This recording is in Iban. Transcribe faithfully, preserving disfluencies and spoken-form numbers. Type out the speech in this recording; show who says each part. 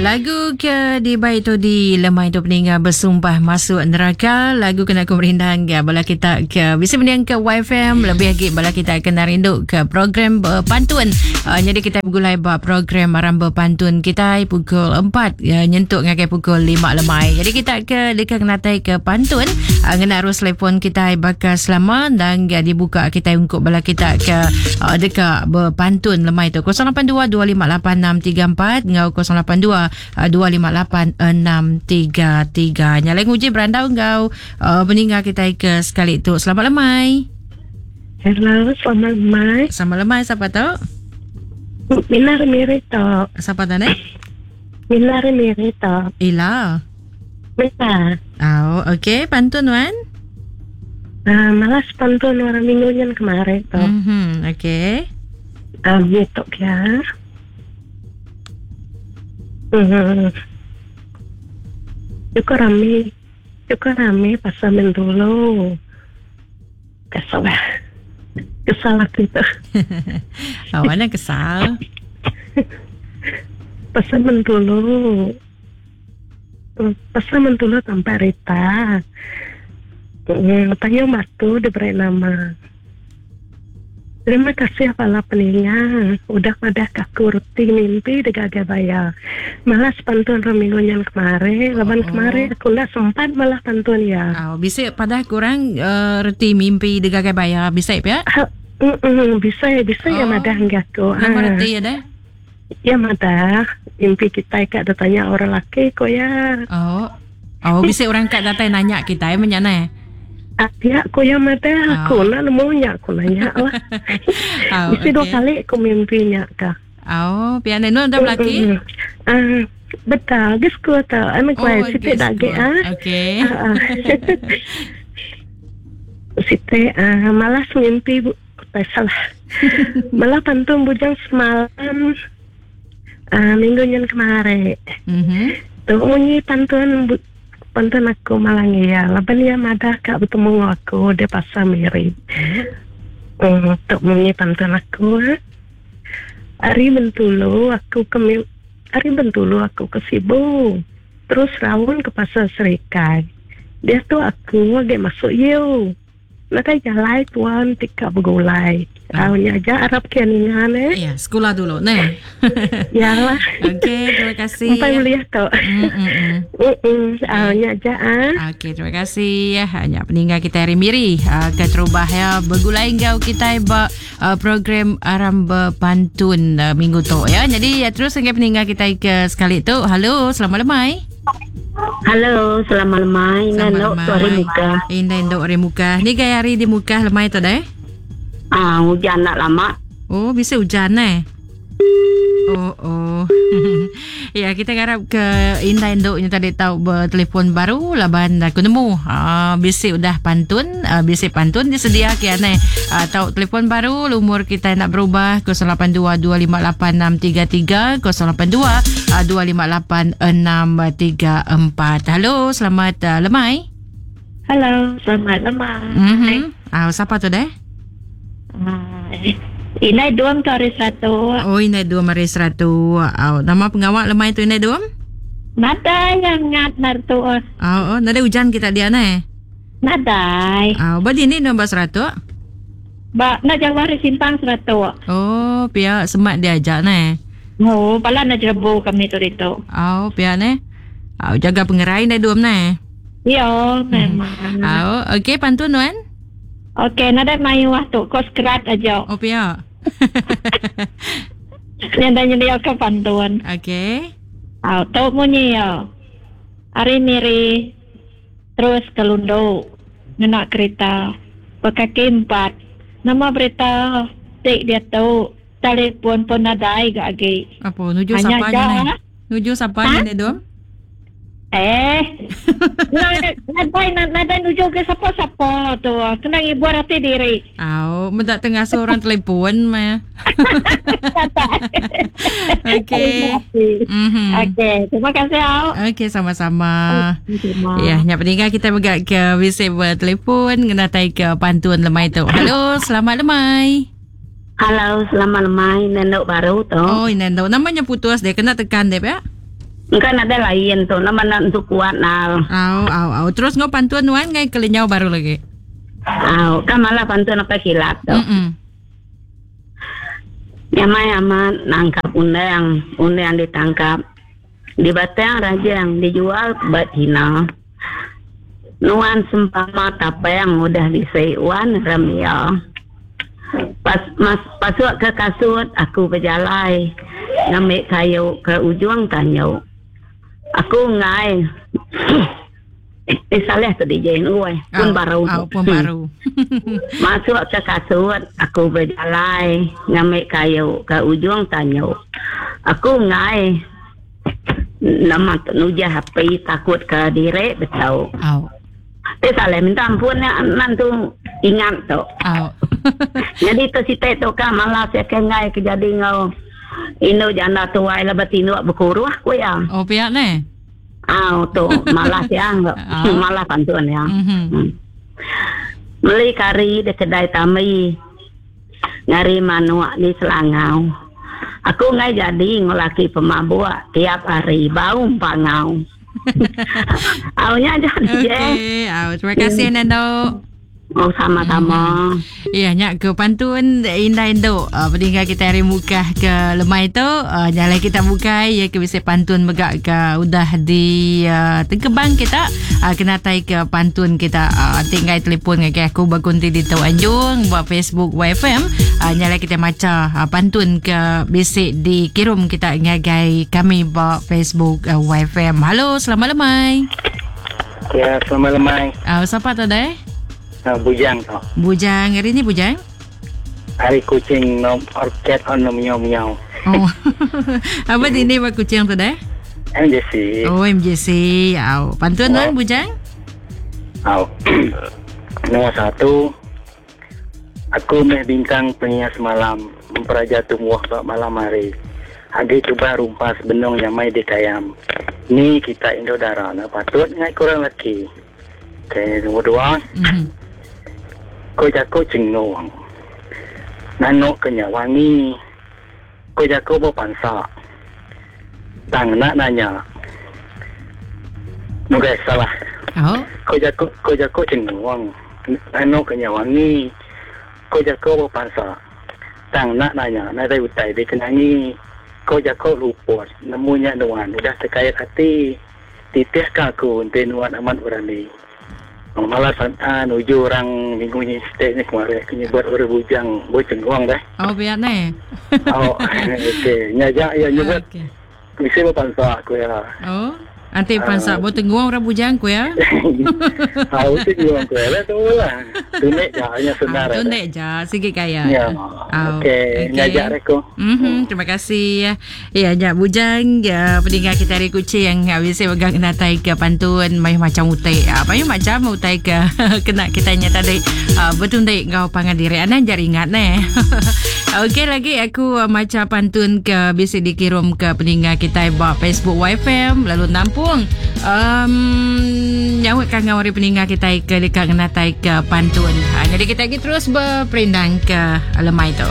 Speaker 1: Lagu ke dibai tu di lemai tu peningga bersumpah masuk neraka. Lagu kena ku merindang ke bala kita ke bisa mending ke Y F M, lebih lagi bala kita kena rindu ke program berpantun. Uh, jadi kita bergulai ba program Aram Berpantun kita pukul empat uh, nyentuk ngagai pukul lima lemai. Jadi kita ke dekat kenatai ke pantun uh, ngena arus telefon kita bakal selama dan uh, dibuka kita untuk bala kita ke uh, dekat berpantun lemai tu kosong lapan dua dua lima lapan enam tiga empat ngau kosong lapan dua dua lima lapan enam tiga tiga. Nyalai nguji berandau ngau uh, meninggal kita ke sekali tu. Selamat lemai.
Speaker 2: Hello, selamat lemai.
Speaker 1: Selamat lemai, siapa tu?
Speaker 2: Minar Miri tu.
Speaker 1: Siapa tu ni?
Speaker 2: Minar Miri tu.
Speaker 1: Ila.
Speaker 2: Mila.
Speaker 1: Oh, okey, pantun wan.
Speaker 2: Uh, malas pantun orang minggu yang kemarin tu.
Speaker 1: Mhm, okey.
Speaker 2: Um, gitu ya. Hmm. Cukup rame, cukup rame pasal Bintulu. Kesal lah, kesal aku itu.
Speaker 1: Awalnya kesal.
Speaker 2: Pasal Bintulu, pasal Bintulu tanpa Rita. Hmm, tanya matu diberi nama. Terima kasih para peninga. Udah pada kaku reti mimpi degagai bayar. Malas pantun minggu yang kemarin. Laban oh. Kemarin aku nak sempat malah pantun ya.
Speaker 1: Oh, bisa pada kurang uh, reti mimpi degagai bayar. Bisa ya?
Speaker 2: Uh, mm, mm, bisa ya, bisa oh. Ya madah enggak aku.
Speaker 1: Nama ah. Reti ya deh?
Speaker 2: Ya madah. Mimpi kita ikat ada tanya orang laki kok ya.
Speaker 1: Oh. Oh, bisa orang kat datang nanya kita ya menyana.
Speaker 2: Ya, aku yang mata aku oh. Nak nemunya aku nanya lah.
Speaker 1: Oh,
Speaker 2: mesti
Speaker 1: okay.
Speaker 2: Dua kali aku mimpinya kah.
Speaker 1: Oh, pian nu dah laki?
Speaker 2: Ah, betul, gis ku tau. Anu
Speaker 1: Oh,
Speaker 2: kuai siti
Speaker 1: gis
Speaker 2: dage
Speaker 1: ku.
Speaker 2: Ah.
Speaker 1: Okey.
Speaker 2: Siti ah malas mimpi bu, salah. Malah pantun bujang semalam. Ah, minggu nyen kemarin.
Speaker 1: Mhm.
Speaker 2: Tu bunyi pantun bu, pantun aku malang ya, laban ya madah kak bertemu aku di pasar Miri. Hmm, untuk bunyi pantun aku. Ari Bentulu aku ke Ari Bentulu aku ke Sibu. Terus rawon ke pasar Serikai. Dia tu aku agak masuk you. Nak jalan tuan tika bergulai. Awalnya aja Arab kianingan eh.
Speaker 1: Ya, sekolah dulu nih.
Speaker 2: Yalah.
Speaker 1: Okey, terima kasih.
Speaker 2: Sampai beli tu.
Speaker 1: Mm mm.
Speaker 2: Mm. Awalnya aja ah.
Speaker 1: Okey, terima kasih ya. Hanya peninggal kita hari Miri uh, ke terubah ya bergulai ngau kita ba uh, program Aram Berpantun uh, minggu tu ya. Jadi ya terus sampai peninggal kita ke sekali tu. Halo, selamat lemai.
Speaker 3: Halo, selamat lemai. Nandok tu hari muka.
Speaker 1: Indah indok hari muka. Ni gaya hari di muka lemai tu deh.
Speaker 3: Ah, hujan nak lama.
Speaker 1: Oh, bisa hujan eh. Oh, oh. Ya, kita harap ke Indah indoknya tadi tahu bertelefon baru laban aku nemu. Ah, bisi udah pantun, ah, bisi pantun disedia ke aneh. Ah, tahu telefon baru lumur kita nak berubah kosong lapan dua dua lima lapan enam tiga tiga kosong lapan dua dua lima lapan enam tiga empat. Halo, selamat uh, lemai.
Speaker 3: Halo, selamat lemai.
Speaker 1: Mhm. Ah, siapa tu deh?
Speaker 3: Ah, Inai dua hari satu.
Speaker 1: Oh, inai dua hari satu. Oh, nama pengawal lemai tu inai dua?
Speaker 3: Nadai yang ngat nartu.
Speaker 1: Oh, oh, nadai hujan kita dia ne.
Speaker 3: Nadai.
Speaker 1: Oh, badi ni nombor seratus?
Speaker 3: Ba, nak jauh hari simpang seratus.
Speaker 1: Oh, pihak semat dia ajak ne.
Speaker 3: Oh, pala nak jerebu kami tu itu.
Speaker 1: Oh, pihak ne. Oh, jaga pengerai inai dua ne.
Speaker 3: Yo, memang.
Speaker 1: Oh, okey pantun wan.
Speaker 3: Okey, nadai mayu wah tu kos kerat aja.
Speaker 1: Oh, pihak.
Speaker 3: Yang dah nyedia ke pantun.
Speaker 1: Okey.
Speaker 3: Oh, tu bunyi ya. Hari Miri terus ke Lundu ngena kereta berkaki empat. Nama berita tik dia tu telefon pun nadai gak lagi.
Speaker 1: Apa nuju siapa ni? Nuju siapa ni dom?
Speaker 3: Eh. Nadai nadai nuju ke siapa-siapa tu. Kena ibu hati diri.
Speaker 1: Au, mendak tengah seorang telefon mah. Okey.
Speaker 3: Mhm. Okey, terima kasih au.
Speaker 1: Okey, sama-sama. Ya, nyak peninggal kita bergak ke visit bertelefon ngenatai ke pantun lemai tu. Halo, selamat lemai.
Speaker 3: Halo, selamat lemai. Nendok baru tu.
Speaker 1: Oh, nendok. Namanya putus dia kena tekan dia ya.
Speaker 4: Engka ada lain tu nama nak untuk kuat nal.
Speaker 1: Au au au terus ngau pantun nuan ngai kelinyau baru lagi.
Speaker 4: Au kan malah pantun apa kilat tu.
Speaker 1: Mm-mm.
Speaker 4: Nyamai amat nangkap undang, undang ditangkap. Di batang rajang dijual ke Cina. Nuan sempama tapang udah diseiwan remia. Pas mas pasuk ke kasut aku berjalai ngambil kayu ke ujung tanyu. Aku ngai eh salah tu D J oi pun
Speaker 1: oh,
Speaker 4: baru.
Speaker 1: Oh, pun baru.
Speaker 4: Masuk ke kasut aku berjalai ngambil kayu ke ujung tanyu. Aku ngai nama nujah H P takut ke direk betul.
Speaker 1: Oh.
Speaker 4: Eh salah minta ampun ya nan tu ingat tu.
Speaker 1: Oh.
Speaker 4: Jadi tu site tu kan malas ya kengai ke jadi ngau. Inu janda tuai lah bertinduk berkuruh aku ya.
Speaker 1: Oh pihak ni.
Speaker 4: Ah tu malas ya,
Speaker 1: Oh.
Speaker 4: malas pantun ya.
Speaker 1: Mm-hmm.
Speaker 4: Hmm. Beli kari di kedai Tami. Ngari manuak di Selangau. Aku ngai jadi ngulaki pemabuk tiap hari bau pangau. Aunya jadi.
Speaker 1: Okey, au terima kasih Nando.
Speaker 4: Oh sama-sama.
Speaker 1: Hmm. Ya, nyak ke pantun indah induk. Uh, peninggal kita hari mukah ke lemai tu, uh, nyalai kita bukai ya ke bisa pantun megak ke udah di uh, tengkebang kita uh, kena tai ke pantun kita uh, tinggal telefon dengan aku bagunti di Tau Anjung buat Facebook Y F M uh, nyalai kita maca uh, pantun ke bisik dikirim kita ngagai kami buat Facebook uh, Y F M. Halo, selamat lemai.
Speaker 5: Ya, selamat lemai.
Speaker 1: Uh, siapa tu deh?
Speaker 5: Uh, bujang tu.
Speaker 1: Bujang hari ni bujang?
Speaker 5: Hari kucing nom orchid on nom miau miau.
Speaker 1: Oh. Apa ini buat kucing tu deh?
Speaker 5: M J C.
Speaker 1: Oh M J C. Au. Pantun tuan bujang?
Speaker 5: Au. Nombor satu. Aku meh bintang penyias malam, memperaja tumbuh bak malam hari. Agi cuba rumpas benong nyamai di kayam. Ni kita Indo darah, nak patut ngai kurang laki. Okey, nombor dua.
Speaker 1: Mm-hmm.
Speaker 5: Kau jago cengung. Nanok kenya wangi. Kau jago berpansa. Tang nak nanya. Okey, salah.
Speaker 1: Oh.
Speaker 5: Kau jago kau jago cengung. Nanok kenya wangi. Kau jago berpansa. Tang nak nanya, nak ada utai dia kenangi. Kau jago luput, nemunya nuan udah terkait hati. Titih ke aku ente nuan amat berani. Oh, malas ah nuju orang minggu ni stay ni kemarin aku buat orang bujang boceng uang dah.
Speaker 1: Oh biar ni.
Speaker 5: Oh okey nyajak ya nyebut.
Speaker 1: Okey.
Speaker 5: Mesti berpansa aku ya.
Speaker 1: Oh. Nanti pansa uh, boteng guang orang bujang ku ya.
Speaker 5: Ah uti guang ku ya tu lah. Tunek je hanya senar.
Speaker 1: Ah, tunek je sikit kaya.
Speaker 5: Ya. Oh, okey, nyajak aku.
Speaker 1: Mhm, terima kasih ya. Ya, ya bujang ya pendengar kita hari kucing yang biasa pegang natai ke pantun mai macam utai. Apa yang macam utai ke kena kita nya tadi uh, betundik ngau pangan diri anan jari ingat ne. Okey lagi aku uh, macam pantun ke biasa dikirim ke pendengar kita buat Facebook Y F M lalu nampung um, nyawa kangau hari peninggal kita ke dekat ngenatai ke pantun. Ha, jadi kita lagi terus berperindang ke lemai tu.